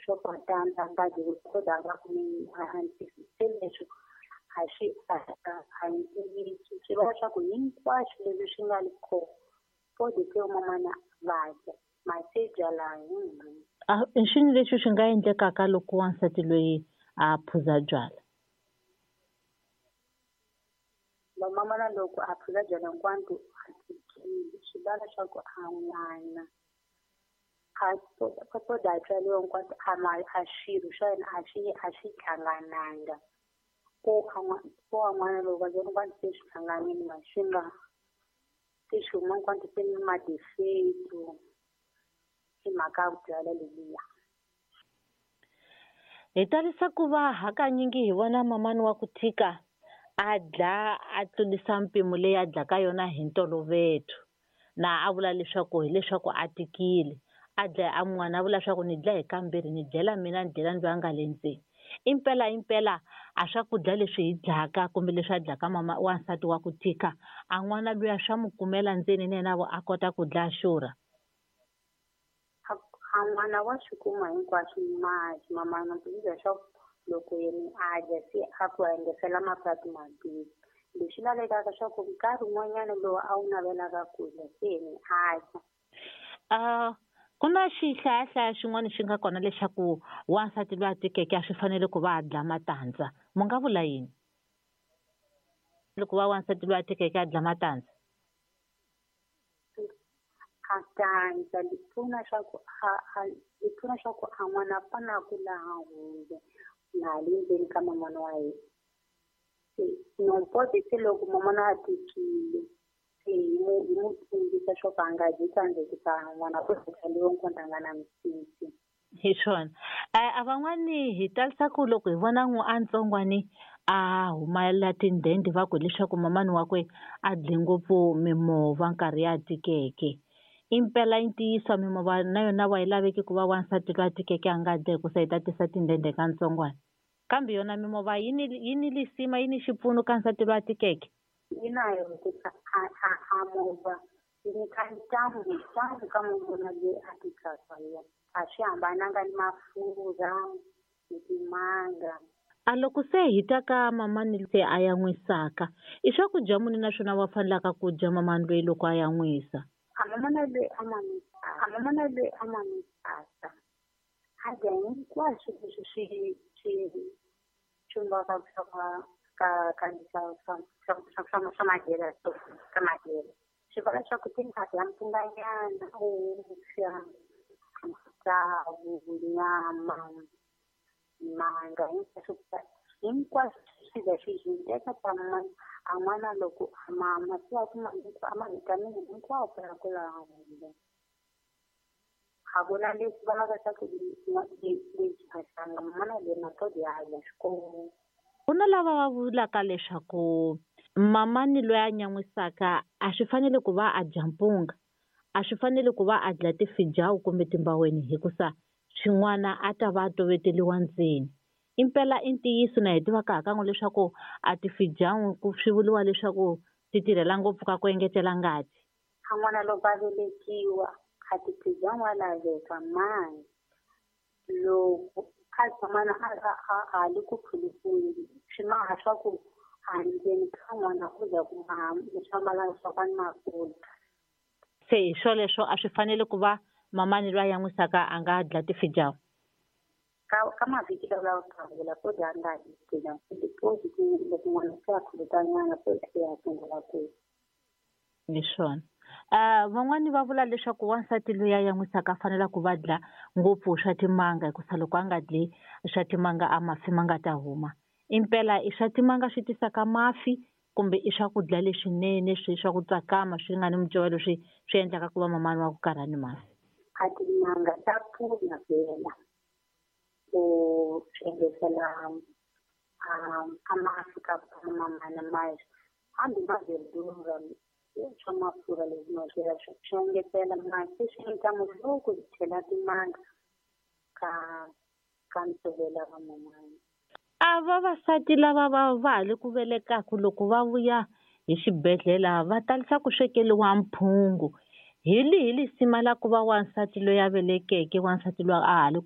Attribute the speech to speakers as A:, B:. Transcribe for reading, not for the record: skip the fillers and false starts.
A: Swo tandza nga dyi kodwa a nga kumi se leswi a swi a hi ntiyiso, swi vula leswaku hinkwaswo leswi swi nga le kona fodi se mamana va dya mase byala hi
B: A i swini leswi swi nga endlekaka loko wansati loyi a phuza byala?
A: Vamamana loko a phuza byala hinkwato a tikile swi vula leswaku a n'wana a a tswariwa hinkwato a ma a swirho swa yena a swi hlangananga ko ko an'wana loko va hinkwato se swi hlanganile ma swi nga se swi huma hinkwato se ni ma-defect hi mhaka ya byala leliya.
B: Hi talisa ku va hakanyingi hi vona mamani wa ku tika a dla a tlurisa mpimo leyi a dlaka yona hi ntolovelo na a vula leswaku hileswaku a tikile a dlaya a n'wana a vula leswaku ni dlaya hi kambirhi ni dlela mina ni dlela ni loyi a nga le ndzeni. Impela impela a swakudya leswi hi dlaka kumbe leswi a dlaka mama wansati wa ku tika a n'wana luya swa mu kumela ndzeni na yena a kota ku dlaya xurha.
A: A n'wana wa swi kuma hinkwaswo masi mamana leswaku loko yena a dya se a ku engetela mapatu mambirhi leswi lavekaka swa ku nkarhi wun'wanyana lowu a wu navelaka ku dya se yena a dya.
B: Ku na xihlayahlaya xin'wana xi nga kona lexaku wansati loyi a tikeke a swi fanele ku va a dla matandza mu nga vula yini loko va wansati loyi a tikeke a dla matandza?
A: A tandza li pfuna swa ku a li pfuna swa ku a n'wana a fane a kula a hundze na le ndzeni ka mamana wa yena. Se nompoti se loko mamana a tikile se hi mu tsundzuxa swa ku a nga dyi tandza hikusa n'wana ku tswariwa a nga na misisi.
B: Hi swona a van'wani hi talisa ku loko hi vona a ntsongwani a humela tindende va ku hileswaku mamani wakwe a dle ngopfu mimova nkarhi ya tikeke. Impela i ntiyiso mimova na yona wa yi laveki ku va wansati loyi a tikeke a nga dya hikusa yi ta tisa tindende ka ntsongwana kambe yona mimova yi ni lisima yi ni xipfuno ka nsati loyi a tikeke.
A: Yi na yo hikusa a movha yi nyika ntamu ntamu ka munhu loyi a tikaka yena a swi hambananga ni mafurha ni timanga.
B: A loko se hi ta ka mamani se a yan'wisaka i swakudya muni naswona wa fanelaka ku dya mamani loyi loko a yan'wisa?
A: A mamana loyi a a mamana loyi a mamisaka a dya hinkwaswo leswi swi chumbaka swa ka swa madyelo ka madyelo swi vula leswaku timhaka ya mpfunganyana vuswa matsavu nyama manga hinkwaswo hinkwaswo swi za swi swi teka ta a n'wana loko a mama se a kuma a ma-vitamin hinkwawo ya kula hundza. A ku na leswi vulaka swa ku lexi a hlanga mamana loyi na ya dya xikolo.
B: Ku na lava va vulaka leswaku mamani loyi a nyan'wisaka a swi fanele ku va a dya mpunga a swi fanele ku va a dla tifijawu kumbe timbaweni hikusa swin'wana a ta va a toveteliwa ndzeni. Impela i ntiyiso na hi tivaka hakan'we leswaku a tifijawu ku swi vuriwa leswaku ti tirhela ngopfu ka ku engetela ngati.
A: A n'wana loko a velekiwa a tifijawu wa laveka mani loko a tshamana a le ku phulukeni swi maha swa ku a ndzeni ka n'wana u za ku maha swa swa ka ni mafurha.
B: Se hi swoleswo a swi fanele ku va mamani loyi a yan'wisaka a nga dla tifijawu?
A: Ka mavhiki lawa yo sungula ko dya nga dyi tifijawu loko n'wana se a khulukanyana se ya sungula ku.
B: Hi swona. Van'wani va vula leswaku wansati loyi a yan'wisaka a fanela ku va dla ngopfu swa timanga hikusa loko a nga dli swa timanga a mafi ma nga ta huma. Impela i swa timanga swi tisaka mafi kumbe i swakudya leswinene swi swa ku tsakama swi nga ni mucovelo swi endlaka ku va mamani wa ku karha ni mafi?
A: A timanga ta pfuna vhela ku swi engetela a mafi ka mamana ma hambi ma verdura swa mafurha leswi ma swi engetela masi swi endla loko hi chela timanga ka ntshovelo wa mamana.
B: A vavasati lava va ha le ku velekaku loko va vuya hi xibedhlele va talisa ku swekeliwa mphungu hi lihi lisima la ku va wansati loyi a velekeke wansati loyi a ha le